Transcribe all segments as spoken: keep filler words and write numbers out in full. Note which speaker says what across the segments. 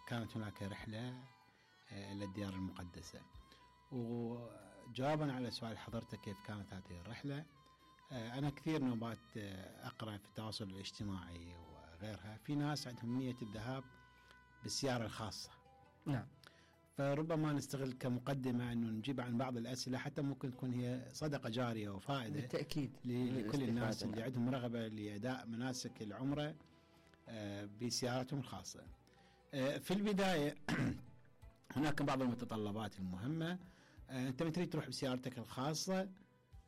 Speaker 1: كانت هناك رحلة إلى الديار المقدسة. وجوابا على سؤال حضرتك كيف كانت هذه الرحلة، أنا كثير نوبات أقرأ في التواصل الاجتماعي وغيرها في ناس عندهم نية الذهاب بالسيارة الخاصة.
Speaker 2: نعم.
Speaker 1: فربما نستغل كمقدمة أنه نجيب عن بعض الأسئلة حتى ممكن تكون هي صدقة جارية وفائدة
Speaker 2: بالتأكيد
Speaker 1: لكل الناس اللي عندهم رغبة لأداء مناسك العمرة بسيارتهم الخاصة. في البداية هناك بعض المتطلبات المهمة. أنت من تريد تروح بسيارتك الخاصة،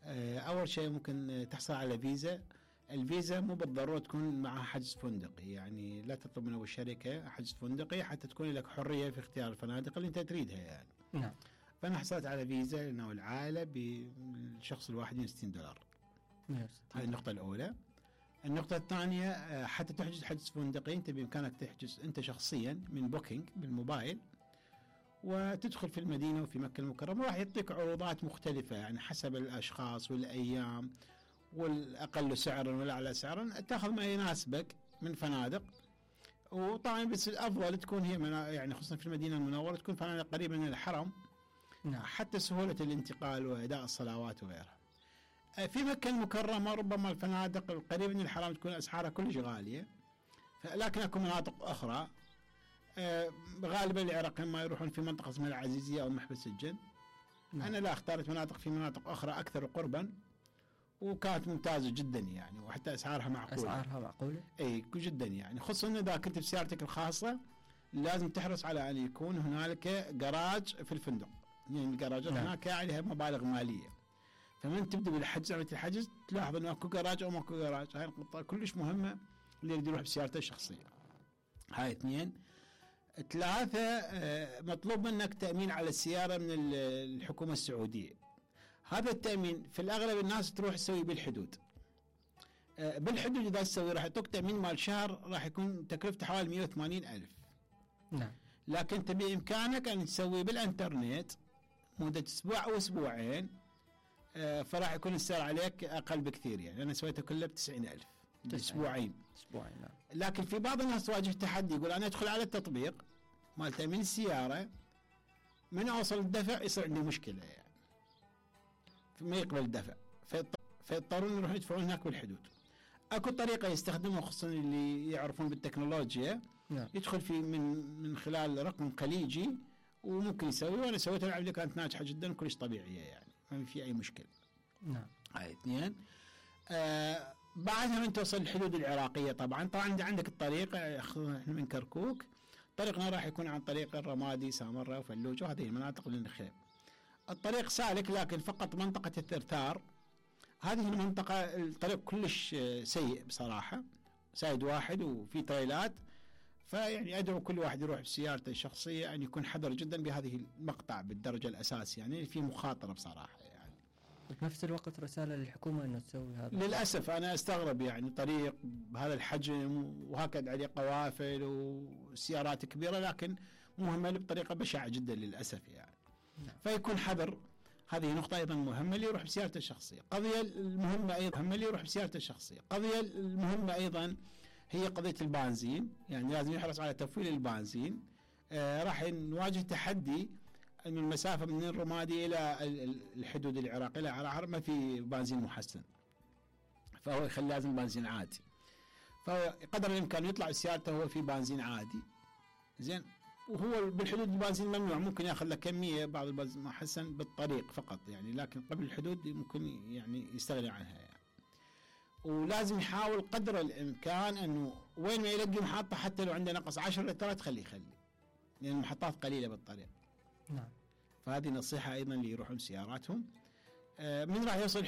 Speaker 1: أول شيء ممكن تحصل على فيزا. الفيزا مو بالضرورة تكون معها حجز فندقي، يعني لا تطلب من أبو الشركة حجز فندقي حتى تكون لك حرية في اختيار الفنادق اللي أنت تريدها يعني.
Speaker 2: نعم.
Speaker 1: فأنا حصلت على فيزا لأنه العائلة بالشخص الواحد مئة وستين دولار. هذه النقطة الأولى. النقطة الثانية، حتى تحجز حجز فندقي أنت بإمكانك تحجز أنت شخصيا من بوكينج بالموبايل، وتدخل في المدينة وفي مكة المكرمة، راح يعطيك عروضات مختلفة يعني حسب الأشخاص والأيام، والأقل سعرا والأعلى سعرا تأخذ ما يناسبك من فنادق. وطبعا بس الأفضل تكون هي يعني خصوصا في المدينة المنورة تكون فنادق قريبة من الحرم.
Speaker 2: نعم.
Speaker 1: حتى سهولة الانتقال وأداء الصلوات وغيرها. في مكة المكرمة ربما الفنادق القريبة من الحرم تكون أسعارها كلش غالية، لكن أكو مناطق أخرى غالبا العراقيين ما يروحون في منطقة اسمها العزيزية أو محبس الجن. نعم. أنا لا اختارت مناطق في مناطق أخرى أكثر قربا وكانت ممتازة جدا يعني، وحتى أسعارها معقولة.
Speaker 2: أسعارها معقولة؟
Speaker 1: أي جدا يعني، خصوصا إذا كنت بسيارتك الخاصة لازم تحرص على أن يكون هنالك جراج في الفندق، يعني الجراجات نعم. هناك عليها مبالغ مالية، فمن تبدأ بالحجز عملية الحجز تلاحظ أنه أكو جراج أو ماكو جراج. هاي النقطة كلش مهمة اللي يريد يروح بسيارته الشخصية. هاي اثنين. ثلاثة، مطلوب منك تأمين على السيارة من الحكومة السعودية. هذا التأمين في الأغلب الناس تروح تسوي بالحدود. بالحدود إذا تسوي راح يعطوك تأمين مال شهر راح يكون تكلفته حوالي مئة وثمانين ألف.
Speaker 2: نعم.
Speaker 1: لكن أنت بإمكانك أن تسوي بالإنترنت مدة أسبوع أو أسبوعين، فراح يكون السعر عليك أقل بكثير. يعني أنا سويته كله بتسعين ألف أسبوعين.
Speaker 2: أسبوعين نعم.
Speaker 1: لكن في بعض الناس تواجه تحدي، يقول أنا أدخل على التطبيق مال تأمين السيارة من أوصل الدفع يصير عندي مشكلة يعني ما يقبل الدفع، فيضطرون يروحون يدفعون هناك بالحدود. أكو طريقة يستخدمها خصوصا اللي يعرفون بالتكنولوجيا. نعم. يدخل في من من خلال رقم خليجي وممكن يسوي، وأنا سويتها العملية كانت ناجحة جدا كلش طبيعية يعني ما في أي مشكلة.
Speaker 2: نعم.
Speaker 1: هاي اثنين. آه بعدها من توصل الحدود العراقية طبعا طبعا عندك الطريق احنا من كركوك، طريقنا راح يكون عن طريق الرمادي سامرة وفلوج وهذه المناطق اللي نخيم. الطريق سالك لكن فقط منطقة الثرثار هذه المنطقة الطريق كلش سيء بصراحة، سايد واحد وفي تريلات، فيعني أدعو كل واحد يروح بسيارته الشخصية أن يكون حذر جدا بهذه المقطع بالدرجة الأساسية، يعني في مخاطرة بصراحة يعني.
Speaker 2: بنفس الوقت رسالة للحكومة أنه تسوي هذا.
Speaker 1: للأسف أنا أستغرب يعني طريق بهذا الحجم وهكذا عليه قوافل وسيارات كبيرة لكن مهمل بطريقة بشعة جدا للأسف يعني. نعم. فيكون حذر. هذه نقطة أيضا مهمة اللي يروح بسيارته الشخصية. قضية المهمة أيضا مهمة اللي يروح بسيارته الشخصية. قضية المهمة أيضا هي قضية البنزين، يعني لازم يحرص على تفويل البنزين. آه راح نواجه تحدي أن المسافة من الرمادي إلى الحدود العراقية إلى عرعر ما في بنزين محسن، فهو يخلي لازم بنزين عادي، فهو قدر الإمكان يطلع بسيارته هو في بنزين عادي زين، وهو بالحدود البنزين ممنوع، ممكن ياخذ له كمية بعض البنزين محسن بالطريق فقط يعني، لكن قبل الحدود ممكن يعني يستغني عنها يعني. ولازم يحاول قدر الإمكان أنه وين ما يلقي محطة حتى لو عنده نقص عشر لترات خليه يخلي، لأن المحطات قليلة بالطريق.
Speaker 2: نعم.
Speaker 1: فهذه نصيحة أيضا اللي يروحون سياراتهم. من راح يوصل